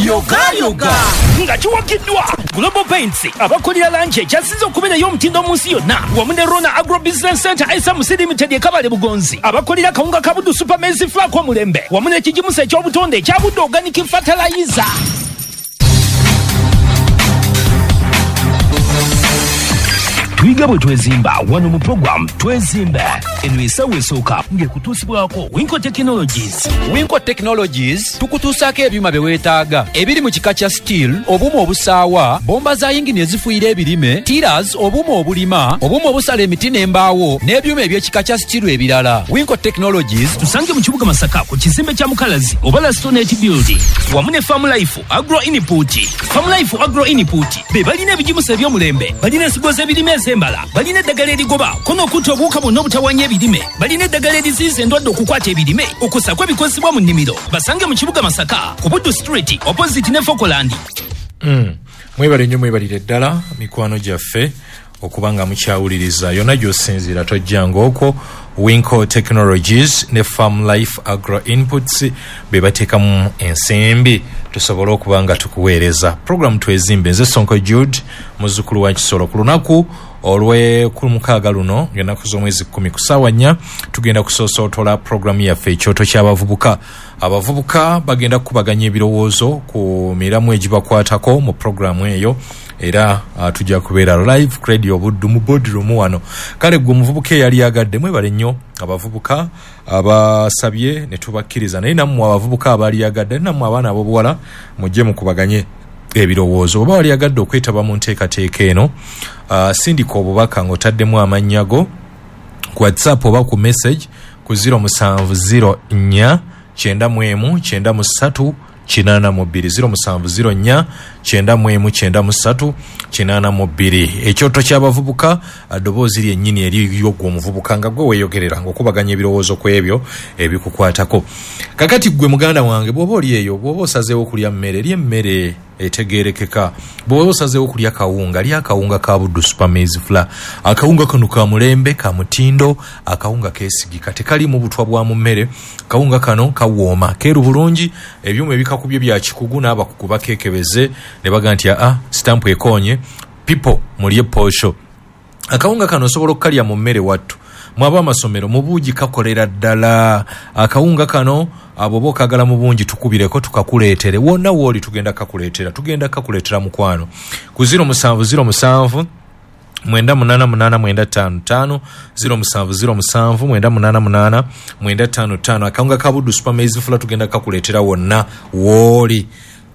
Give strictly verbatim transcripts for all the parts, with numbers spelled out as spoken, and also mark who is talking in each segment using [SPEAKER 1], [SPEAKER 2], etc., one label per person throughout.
[SPEAKER 1] Yogayoga nga kiwagiddwa Global Paints, abakolera langi ekyasinze okubeerayo omutindo mu nsi yonna, wamu ne Rona Agro Business Center S M C Limited e Kabale Bugonzi, abakolera kawunga ka Buddu Super Maize Flour omulembe, wamu n'ekigimusa eky'obutonde ekya Buddu Organic Fertilizer. Tuyiga bwe twezimba wano mu program Twezimbe. Eno essaawa esooka ng'ekutuusibwako Winco Technologies.
[SPEAKER 2] Winco Technologies tukutuusaako ebyuma bye weetaaga ebiri mu kika kya steel, obuuma obusaawa, bomba za yingini ezifuuyira ebirime, tillers, obuuma obulima, obuuma obusala emiti n'embaawo, n'ebyuma eby'ekika kya steel ebirala. Winco Technologies.
[SPEAKER 1] Tusange mu kibuga Masaka ku kizimbe kya Mukalazi oba Lastonet Building, wamu ne Farm Life Agro Input. Farm Life Agro Input be balina ebigimusa eby'omulembe, balina ensigo z'ebirime ez'embala, balina eddagala erigoba ko n'okutta obuwuka bwonna obutawanya ebirime, balina eddagala eriziyiza endwadde okukwata ebirime, okusako ebikozesebwa mu nnimiro. Basange mu kibuga Masaka ku Buddu Street opposite ne Fokoland.
[SPEAKER 3] Mm. Mwebale nnyo, mwebalire ddala mikwano gyaffe okuba nga mukyawuliriza yonna gy'osinziira tojjanga okwo. Winco Technologies ne Farm Life Agro Inputs be bateekamu ensimbi tusobole okuba nga tukuweereza program Twezimbe. Nze Sonko Jude, muzzukulu wa Kisolo. Ku lunaku olw'ekumukaaga luno, ng'ennaku z'omwezi kkumi, ku ssaawa nnya, tugenda kusoosootola programu yaffe Ekyoto ky'Abavubuka. Abavubuka bagenda kukubaganya ebirowoozo ku miramu egibakwatako mu programu eyo, era uh, tujja kubeera live ku Radio Buddu mu boardroom wano. Kale gwe omuvubuka eyali yagadde, mwebale nnyo abavubuka abasabye ne tubakkiriza, naye nammwe abavubuka abaali yagadde, nammwe abaana ab'obuwala, mujje mukubaganye ebirowoozo. Oba wali yagadde okwetaba mu nteekateeka eno, uh, sindika obubaka ng'otaddemu amannya go ku WhatsApp oba ku message ku zero musanvu zero nnya kyenda mu emu kyenda mu ssatu kinaana mu bbiri, zero musanvu zero nnya kyenda mu emu kyenda mu ssatu kinaana mu bbiri. Ekyoto ky'Abavubuka, ddoboozi lyennyini eriyo gwe omuvubuka nga gwe weeyogerera ng'okubaganya ebirowoozo ku ebyo ebikukwatako. Kakati gwe muganda wange, bw'oba oli eyo, bw'oba osazeewo okulya mmere, eri emmere etegeerekeka. Bw'oba osazeewo okulya kawunga, lya akawunga ka Buddu Super Maize Flour. Akawunga kano ka mulembe, ka mutindo, akawunga keesigika, tekalimu butwa bwa mu mmere. Akawunga kano kawooma, keeru bulungi, ebyuma ebikakubye bya kikugu, n'abakugu bakeekebeze ne baga nti aa, sitampu ekoonye. People, mulye posho. Akawunga kano osobola okukalya mu mmere. Wattu mwaba amasomero, mu buugi kakolera ddala. Akawunga kano abo oba okagala mu bungi, tukubireko tukakuleetere wonna wooli. Tugenda kakuleetera, tugenda kakuleetera mukwano, ku zero musanvu zero musanvu mwenda munaana munaana mwenda ttaano ttaano, zero musanvu zero musanvu mwenda munaana munaana mwenda ttaano ttaano. Akawunga ka Buddu Super Maize Flour tugenda kakuleetera wonna wooli.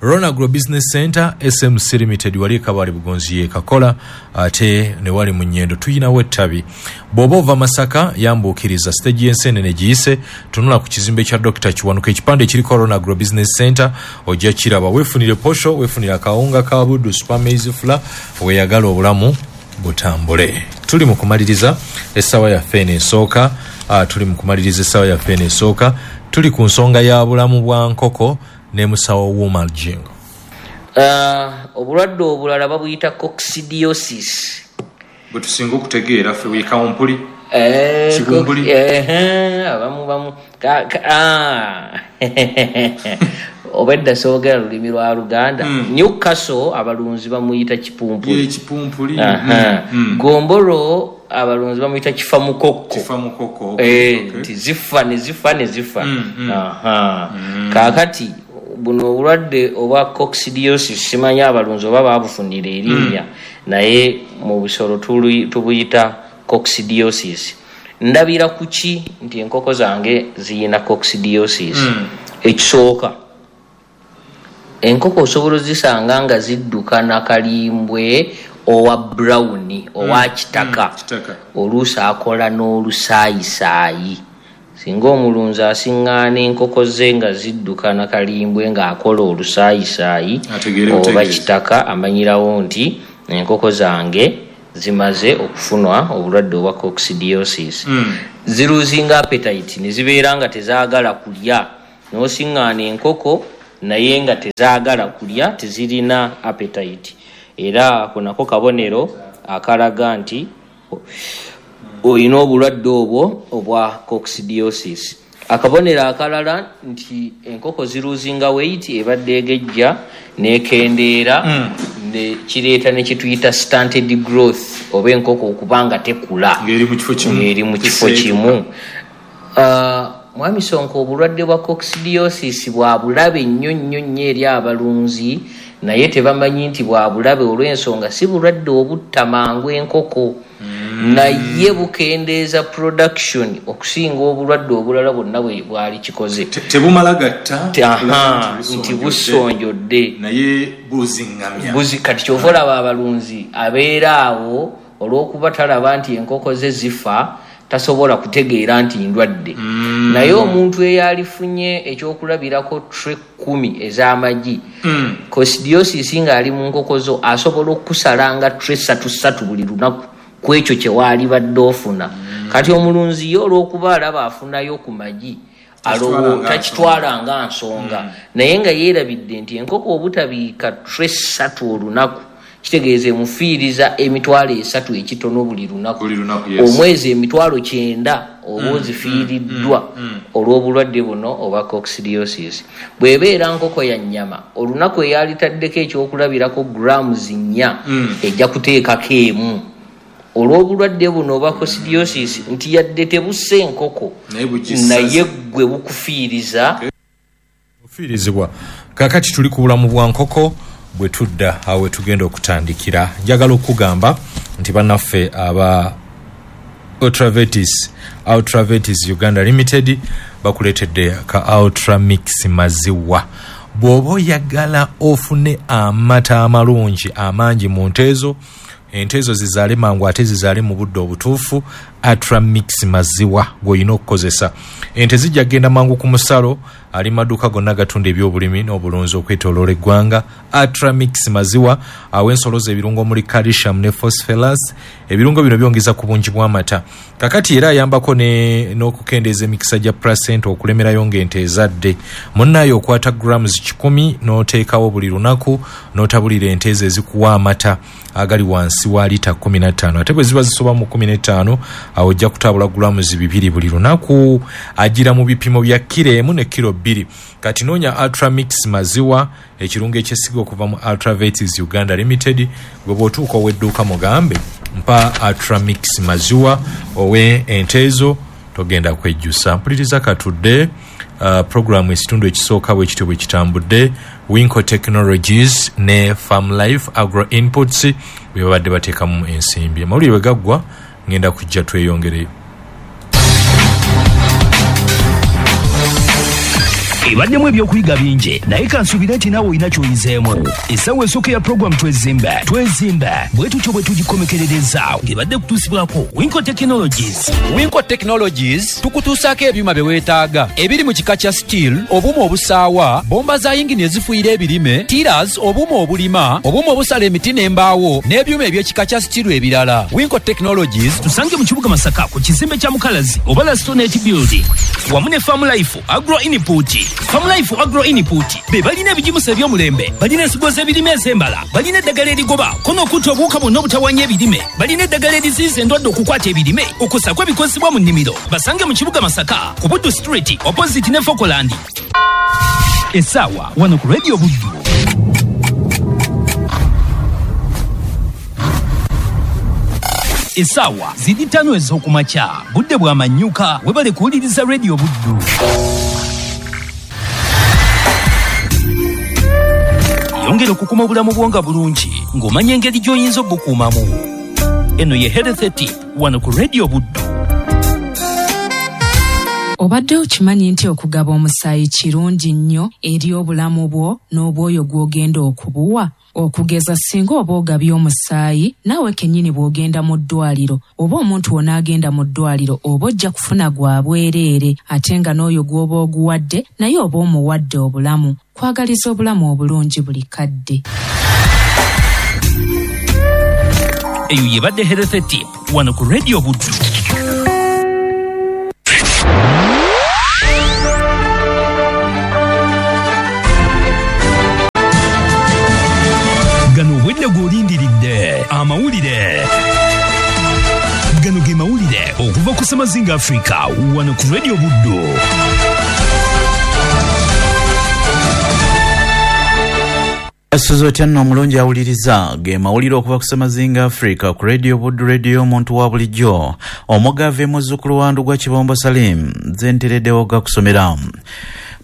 [SPEAKER 3] Ronagro Business Center S M C Limited wali Kabali Bugonzi ye kakola, ate ne wali mu Nyendo tuyinawo ettabi. Bw'oba ova Masaka, yambuukiriza stage y'Ensenene giyise, tunula ku kizimbe kya Doctor Kiwanuka, ekipande ekiriko Ronagro Business Center ojja kiraba. Weefunire posho, weefunire akawunga ka Buddu Super Maize Flour, weeyagala obulamu butambule. Tuli mu kumaliriza essaawa yaffe eno esooka, uh, tuli mu kumaliriza essaawa yaffe eno esooka. Tuli ku nsonga ya bulamu bwa nkoko ne musawo Wuma Jingo.
[SPEAKER 4] Uh, obulwadde obulala babuyita coccidiosis.
[SPEAKER 3] Bwe tusinga okutegeera ffe wekawumpuli.
[SPEAKER 4] Eh,
[SPEAKER 3] Kibumbuli.
[SPEAKER 4] coc- ehe, abamu bamu ka- ka- ah. Obwedda soogera lulimi lwa Luganda.
[SPEAKER 3] Mm.
[SPEAKER 4] Newcastle abalunzi bamuyita kipumpuli.
[SPEAKER 3] Kipumpuli.
[SPEAKER 4] Aha.
[SPEAKER 3] Mm, mm.
[SPEAKER 4] Gombolo abalunzi bamuyita kifamukokko.
[SPEAKER 3] Kifa mukoko.
[SPEAKER 4] Eh, nti zifa ne zifa ne zifa.
[SPEAKER 3] Mm, mm.
[SPEAKER 4] Aha. Kaakati buno obulwadde obwa coccidiosis, simanyi abalunzi oba babufunira erinnya, naye mu busolo tuli- tubuyita coccidiosis. Ndabira ku ki nti enkoko zange ziyina coccidiosis?
[SPEAKER 3] Mm.
[SPEAKER 4] Ekisooka, enkoko osobola ozisanga nga zidduka nakalimbwe owa brown, owa kitaka.
[SPEAKER 3] Mm, kitaka.
[SPEAKER 4] Oluusi akola n'olusaayisaayi. Singa omulunzi asiŋŋaana enkoko ze nga zidduka nakalimbwe ng'akola olusaayisaayi
[SPEAKER 3] Ategeere
[SPEAKER 4] oba
[SPEAKER 3] butegeezi.
[SPEAKER 4] kitaka, amanyirawo nti enkoko zange zimaze okufunwa obulwadde obwa coccidiosis.
[SPEAKER 3] Mm.
[SPEAKER 4] Ziruzinga appetite ne zibeera nga tezaagala kulya. N'osiŋŋaana enkoko naye nga tezaagala kulya, tezirina appetite, era ako nako kabonero akalaga nti olina obulwadde obwo obwa coccidiosis. Akabonero akalala nti enkoko ziruzinga weight, ebadde egejja n'ekendeera,
[SPEAKER 3] Mm.
[SPEAKER 4] ne kireeta ne kituyita stunted growth, oba enkoko okubanga tekula
[SPEAKER 3] Ng'eri mu kifo kimu.
[SPEAKER 4] Ng'eri mu kifo kimu. Ah, Mwami Sonko, obulwadde bwa coccidiosis bwa bulabe nnyo nnyo nnyo eri abalunzi, naye tebamanyi nti bwa bulabe olw'ensonga si bulwadde obutta mangu enkoko,
[SPEAKER 3] Mm.
[SPEAKER 4] naye bukendeeza production okusinga obulwadde obulala bwonna bwe bwali kikoze.
[SPEAKER 3] Te-, tebumala gatta,
[SPEAKER 4] Te-, aha,
[SPEAKER 3] nti
[SPEAKER 4] nti busonjodde.
[SPEAKER 3] Naye buziŋŋamya.
[SPEAKER 4] Buzi, kati ky'ova olaba abalunzi abeera awo olw'okuba talaba nti enkoko ze zifa, tasobola kutegeera nti ndwadde.
[SPEAKER 3] Mm.
[SPEAKER 4] Naye omuntu eyalifunye ekyokulabirako tray kkumi ez'amagi,
[SPEAKER 3] Mm.
[SPEAKER 4] coccidiosis ng'ali mu nkoko zo asobola okusalanga tray ssatu ssatu buli lunaku ku ekyo kye waalibadde ofuna.
[SPEAKER 3] Mm.
[SPEAKER 4] Kati omulunzi ye olw'okuba alaba afunayo ku magi,
[SPEAKER 3] Takitwala nga
[SPEAKER 4] takitwala nga nsonga.
[SPEAKER 3] Mm.
[SPEAKER 4] Naye nga yeerabidde nti enkoko obutabiika tray ssatu olunaku kitegeeza emufiiriza emitwalo esatu ekitono buli lunaku.
[SPEAKER 3] Buli lunaku, yes.
[SPEAKER 4] Omwezi emitwalo kyenda oba
[SPEAKER 3] Mm,
[SPEAKER 4] ozifiiriddwa
[SPEAKER 3] mm, mm, mm.
[SPEAKER 4] olw'obulwadde buno obwa coccidiosis. Bw'ebeera nkoko ya nnyama, olunaku eyalitaddeko ekyokulabirako grams nnya,
[SPEAKER 3] Mm.
[SPEAKER 4] ejja kuteekako emu. Olw'obulwadde buno obwa coccidiosis nti yadde tebussa enkoko,
[SPEAKER 3] Naye bugisasa.
[SPEAKER 4] naye ggwe bukufiiriza.
[SPEAKER 3] Okay. Bufiirizibwa. Kaakati tuli ku bulamu bwa nkoko, bwe tudda awo we tugenda okutandikira. Njagala okugamba nti bannaffe aba Ultravetis, Ultravetis Uganda Limited bakuleetedde ka Ultramix maziwa. Bw'oba oyagala ofune amata amalungi amangi mu nte ezo, ente ezo zizaale mangu ate zizaale mu budde obutuufu, Ultramix maziwa gw'olina okukozesa. Ente zijja kugenda mangu ku musalo, ali maduuka gonna gatunda ebyobulimi n'obulunzi okwetooloola eggwanga. Ultramix maziwa awa ensolo ze ebirungo omuli calcium ne phosphorus. Ebirungo bino byongeza ku bungi bw'amata. Kakati era ayambako ne, n'okukendeeza emikisa gya placenta okulemerayo ng'ente ezadde. Munnaayo okwata grams kikumi n'oteekawo buli lunaku n'otabulira ente ezo ezikuwa amata agali wansi wa lita kkumi na ttaano. Ate bwe ziba zisoba mu kkumi n'ettaano, awo ojja kutabula grams bibiri buli lunaku, agira mu bipimo bya kiro emu ne kiro bbiri. Kati noonya Ultramix maziwa, ekirungo ekyesiga okuva mu Ultravetis Uganda Limited. Gwe bw'otuuka ow'edduuka mugambe mpa Ultramix maziwa owe ente ezo, togenda kwejjusa. Mpuliriza katudde, uh, programu ekitundu ekisooka bwe kityo bwe kitambudde. Winco Technologies ne Farm Life Agro Inputs bwe babadde bateekamu ensimbi. Amawulire bwe gaggwa ngenda kujja tweyongereyo.
[SPEAKER 1] Ebaddemu ebyokuyiga bingi, naye kansuubire nti naawe olina ky'oyizeemu. Essaawa esooka ya puroguramu Twezimbe, Twezimbe bwe tutyo bwe tugikomekerereza, ng'ebadde kutuusibwako Winco Technologies.
[SPEAKER 2] Winco Technologies tukutuusaako ebyuma bye weetaaga ebiri mu kika kya steel, obuuma obusaawa, bomba za yingini ezifuuyira ebirime, tillers, obuuma obulima, obuuma obusala emiti n'embaawo, n'ebyuma eby'ekika kya steel ebirala. Winco Technologies
[SPEAKER 1] tusange mu kibuga Masaka ku kizimbe kya Mukalazi oba Lastonet Building, wamu ne Farm Life Agro Input. Farm Life Agro Input be balina ebigimusa eby'omulembe, balina ensigo z'ebirime ez'embala, balina eddagala erigoba ko n'okutta obuwuka bwonna obutawaanya ebirime, balina eddagala eriziyiza endwadde okukwata ebirime, okussaako ebikozesebwa mu nnimiro. Basange mu kibuga Masaka ku Buddu Street opposite ne Fokoland. Essaawa wano ku Radio Buddu. Essaawa ziri ttaano ez'okumakya, budde bwa manyuka, webale kuwuliriza Radio Buddu. Yongera okukuma obulamu bwo nga bulungi ng'omanya engeri gy'oyinza obukuumamu. Eno ye Health Tip wano ku Radio Buddu.
[SPEAKER 5] Obadde okimanyi nti okugaba omusaayi kirungi nnyo eri obulamu bwo n'obwoyo gw'ogenda okubuwa? Okugeza singa oba ogabye omusaayi, naawe kennyini bw'ogenda mu ddwaliro oba omuntu w'onaagenda mu ddwaliro oba ojja kufuna gwa bwereere, ate nga n'oyo gw'oba oguwadde naye oba omuwadde obulamu. Kwagaliza obulamu obulungi buli kadde.
[SPEAKER 1] Eyo yebadde Health Tip wano ku Radio Buddu. Gano obwedde gw'olindiridde amawulire. Gano ge mawulire okuva ku ssema Semazinga Africa wano ku Radio Buddu.
[SPEAKER 6] Asuza otya nno omulungi awuliriza ge mawulire okuva ku Semazinga Africa ku Radio Buddu, radio omuntu wa bulijjo, omugave muzzukulu wa Ndugwa Kibombo Salim, nze ntereddewo gakusomera.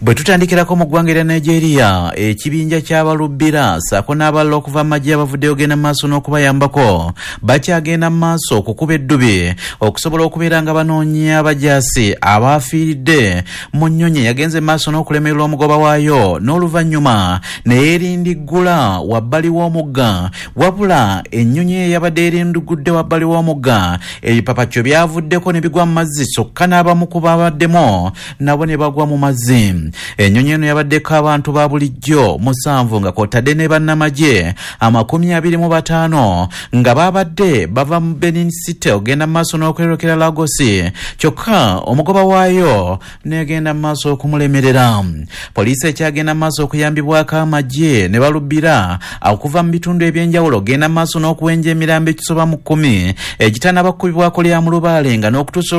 [SPEAKER 6] Bwe tutandikirako mu ggwanga erya Nigeria, ekibinja ky'abalubbira ssaako n'abalala okuva mu magye abavuddeyo genda mu maaso n'okubayambako bakyagenda mu maaso okukuba eddubi okusobola okubeera nga banoonya abajaasi abaafiiridde mu nnyonyi yagenze mu maaso n'okulemererwa omugoba waayo n'oluvannyuma ne yeerindiggula wabbali w'omugga. Wabula ennyonyi eyo yabadde erindigudde wabbali w'omugga, ebipapakyo byavuddeko ne bigwa mu mazzi, kyokka n'abamu ku babaddemu nabo ne bagwa mu mazzi. Ennyonyi eno yabaddeko abantu ba bulijjo musanvu nga kw'otadde ne bannamagye amakumi abiri mu bataano nga babadde bava mu Benin City ogenda mu maaso n'okweyolekera Lagos, kyokka omugoba waayo n'egenda mu maaso okumulemerera. Poliisi ekyagenda mu maaso okuyambibwako amagye ne balubbira okuva mu bitundu ebyenjawulo ogenda mu maaso n'okuwenja emirambo ekisoba mu kkumi egitanaba kukubibwako lya mulubaale nga n'okutuusa